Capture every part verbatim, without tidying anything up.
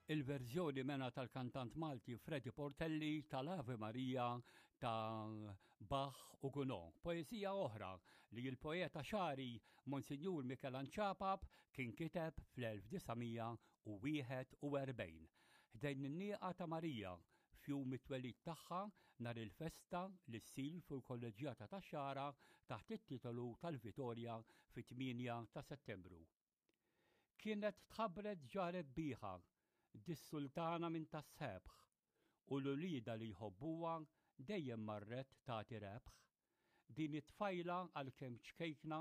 Il-verżjoni mena tal-kantant Malti Freddy Portelli tal-Ave Maria ta' Bach u Gounod. Poezija oħra li l-poeta Xagħri Monsinjur Mikelanġ Apap kien kiteb fl-elf disa' mija u wieħed u erbgħin. Ħdejn in-nieqa ta' Marija f'jum it-twelid tagħha nhar il-festa li ssir fuq il-Kolleġġjata tax-Xagħra taħt it-titolu tal-Vitorja fit-tmienja ta' Settembru. Kienet tħabbret ġa rebbieħa dis-sultana minn tas-sebħ u l-ulida li jħobbuha dejjem marret tagħti rebħ. Din it-tfajla għalkemm ċkejkna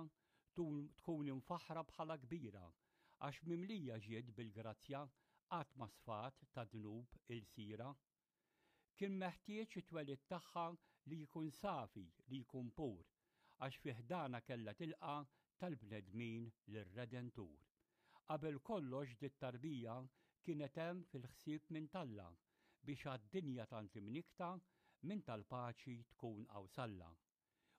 tkun imfaħra bħala kbira għax mimlija ġiet bil-grazzja qatt ma sfat ta' dnub il-sira. Kien meħtieġ it-twelid tagħha li jkun safi, li jkun pur, għax fi ħdana kellha tilqa' tal-bnedmin lir-Redentur. Qabel kollox dit tarbija kienet hemm fil-ħsieb minn talla biex għad-dinja tant imnikta minn tal-paċi tkun qawsalla.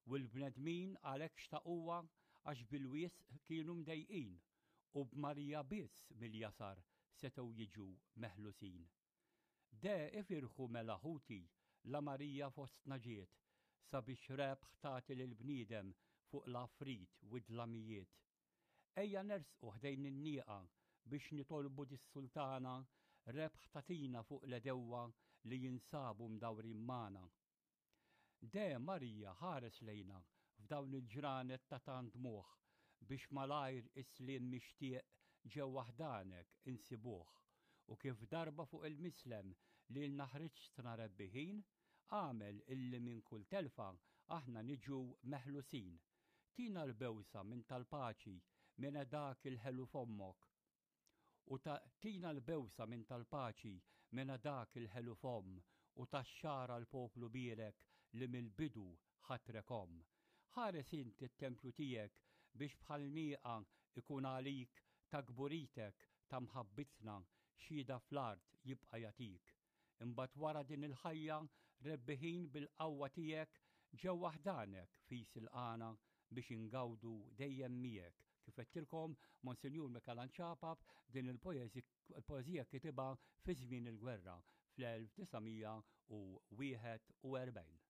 U l-bnedmin għalhekk xtaquha għax bil-wisq kienu mdejqin u b'Marija biss mill-jasar setgħu jiġu meħlusin. De ifirħu mela ħuti la Marija fostna ġiet sabiex rebħ tagħti lill-bniedem fuq l-afrit u d-dlamijiet. Ejja nersqu ħdejn in-nieqa biex nitolbu dis-sultana rebħ tatina fuq l-edewwa li jinsabu mdawrin magħna. De Marija ħares lejna f'dawn il-ġranet ta' tant dmugħ biex malajr is-sliem mixtieq ġewwa ħdanek insibuh u kif darba fuq il-mislem li l-naħriġtna rebbiħin, għamel illi minn kull telfa aħna niġu meħlusin. Tina l-bewsa minn tal-paċi minn dak il-ħelu fommok. U ta' tina l-bewsa minn tal-paċi minn dak il-ħelu fomm u tax-xara l-poplu birek li mill-bidu ħatrekom. Ħares inti t-tempju tiegħek biex bħal nieqa ikun għalik ta' kburitek ta' mħabbitna xhieda fl-art jibqa' jagħtik. Imbagħad wara din il-ħajja rebbiħin bil-qawwa tiegħek ġewwa ħdanek fis il-qana biex ingawdu dejjem miegħek. Kif għedtilkom, Monsinjur Mikelanġ Apap din il-poeżija kitibha fi żmien il-gwerra fl-elf disa' mija u wieħed u erbgħin.